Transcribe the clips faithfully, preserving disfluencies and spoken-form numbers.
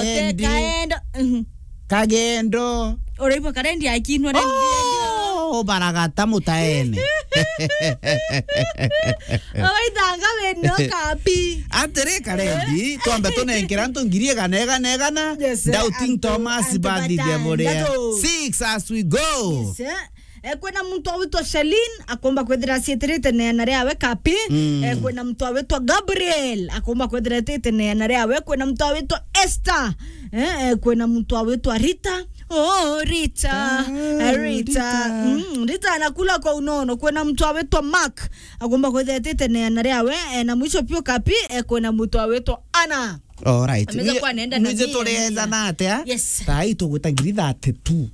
Endi. Kaendo. Mhm. Kagendo. Uraigua karendi akinwa rendi. Oh, baragata mutaene. Awaithanga weno kapi. Atiri karendi, twambe tunenkera antu ngiri igana, igana, igana. Yes, doubting antu, Thomas antu bathithia buria. Batandatu. Six as we go. Yes, eh. Eh, kwina muntu awitwa Shalin, akomba kwithira acietirite neana riawe kapi. Mm. Eh, kwina muntu awitwa Gabriel, akomba kwithira etite neana riawe. Kwina muntu awitwa Esther. Eh, eh, kwina muntu awitwa Rita. Oh, Rita. Ah, eh, Rita. Rita. Mm, Rita anakula kwa unono. Kwina muntu awitwa Mark, akomba kwithira etite neana riawe. Eh, na mwisho pio kapi, eh, kwina muntu awitwa Anna. All right. Ameza kuwa anaenda na mia, mia. Tureeza na atia? Yes. Thaa ii tugwita ngiri thirty-two.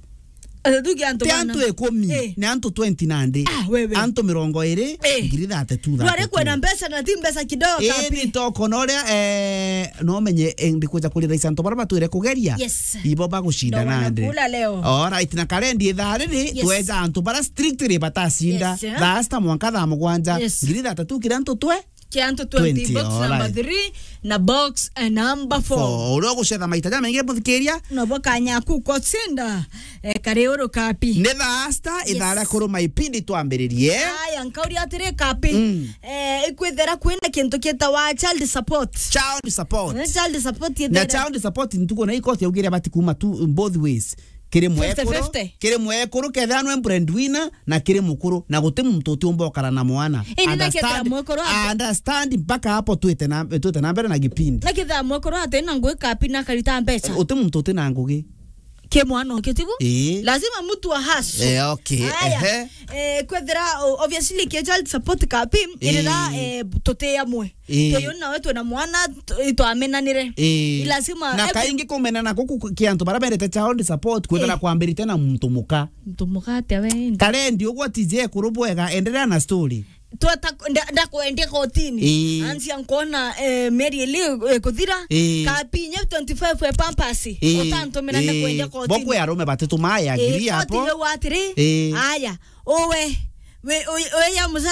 Athuki antu ti bana. Antu ikumi, eh, ni antu twenty nandi. Ah, wewe. Antu mirongo iri, eh, ngiri thirty-two. Rware kwena mbeca na ti mbeca kidogo. Eh, kapi. Ni toko na uria, eh, no menye, eh, ndikuja kuriraisa antu bara batwire kugeria. Yes. Ibo bagucinda nandi. Ndo wanakula leo. All right, na karendi ithaa riri, yes, tweja antu bara strictly batacinda. Yes, eh. Thaa sita mwanka thaa mugwanja. Yes. Ngiri thirty-two kiri antu twe Kia antu twenty, twenty, box number three na box, eh, number four. Four. Uria ugucetha maita jamaingi muthikiria. Nobo kanyaku kocinda, eh, kari uru kapi. Ni thaa sita, yes, ithaa ria kuruma ipindi twambiririe. Aya, nkauria atiri kapi. Mm. Eh, ikwithira kwina kintu kietawa child support. Child support. Eh, child support. Na ithere. Child support ntuko na ikosi yaugire bati kuma tu both ways. Kiri mwekuru, fifty fifty. Kiri mwekuru kethira nwe breadwinner, na kiri mukuru, na guti muntu utiumba ukara na mwana. Indi na kethira mwekuru ati- understand mpaka hapo twite na, twite na mbere na gipindi. Na kethira mwekuru ati na ngugi kapi na karita mbeca. Uti muntu uti na ngugi. Ki mwana ukitibu? Ii. Lazima mtu a hustle. Eh, okay. Aya. Ehe. Eh, kwethira, o-, obviously, ki child support kapi, ii, irira, eh, tuti amwe. Ii. Tuyu nawe twina mwana, tu-, itwamenanire. Ii. Lazima na eke- kaingi kumenana guku ku-, ki antu bara berete child support, kwithira, eh, kwambirite na muntu muka. Muntu muka atia we indi? Karendi ugwo atije ekuru bwega, endelea na story. Tweta, nda-, ndakwendia kotini. Ii. Anzia nkuona, eh, mieri ili, eh, kuthira. Ii. Kapi inya twenty-five ya pampers. Ii. Utantumira, ii, ndakwendia kotini. Bokwe arume batitu mai agree hapo. Ii, koti yauga atiri, ii, aya, uwe, we, uy-, uya mucara